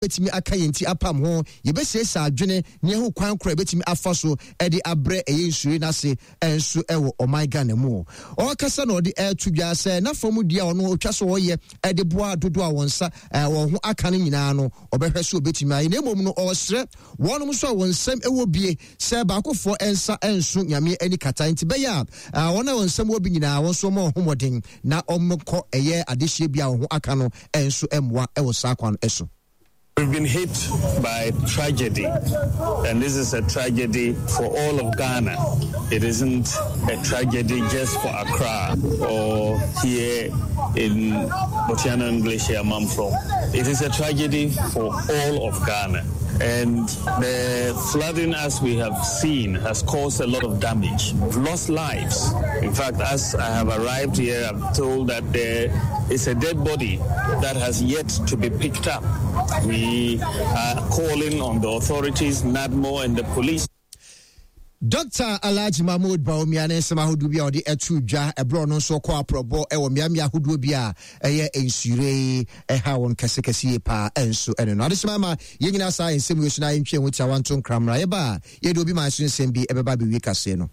Yɛbɛtumi aka yɛn ti apam ho, yɛbɛsiesie adwene na yɛahu kwan korɔ a yɛbɛtumi afa so de abrɛ ɛyɛ nsuoyɛ no ase nso wɔ ɔman Ghana mu. Ɔrekasa na ɔde ɛreto dwa sɛ n'afa mu deɛ ɔno ɔtwa so ɔyɛ de boa dodoɔ a wɔn nsa wɔn ho aka no nyinaa no ɔbɛhwɛ so ɔbɛtumi ayɛ, na mmom no ɔresrɛ wɔnom nso a wɔn nsam wɔ bie sɛ baakofoɔ nsa nso Nyame ani kata nti bɛyɛ a wɔn a wɔn nsam wɔ bi nyinaa wɔn nso wɔn ho mmɔden na wɔnkɔ ɛyɛ adehyeɛ bi a wɔn ho aka no nso mmoa wɔ saa kwan so. We've been hit by tragedy, and this is a tragedy for all of Ghana. It isn't a tragedy just for Accra or here in Botiana Glacier Mamfro. It is a tragedy for all of Ghana. And the flooding, as we have seen, has caused a lot of damage. We've lost lives. In fact, as I have arrived here, I'm told that there is a dead body that has yet to be picked up. We are calling on the authorities, NADMO, and the police. Dɔkta Alhaji Mahmood Bawumia ne nsɛm ahodoɔ bi a ɔde ato dwa ɛberɛ ɔno nso ɔkɔ aprɔbɔ wɔ mmeammea ahodoɔ bi a ɛyɛ nsuyire yi ɛha wɔn kɛsekɛse yie paa ɛnso ɛne no adehyema ama yɛn nyinaa saa nsɛm wei so na yɛntwe ho tiawa nto nkra mmra yɛba a yɛde obi man so nsɛm bi ɛbɛba abɛwie kaseɛ no.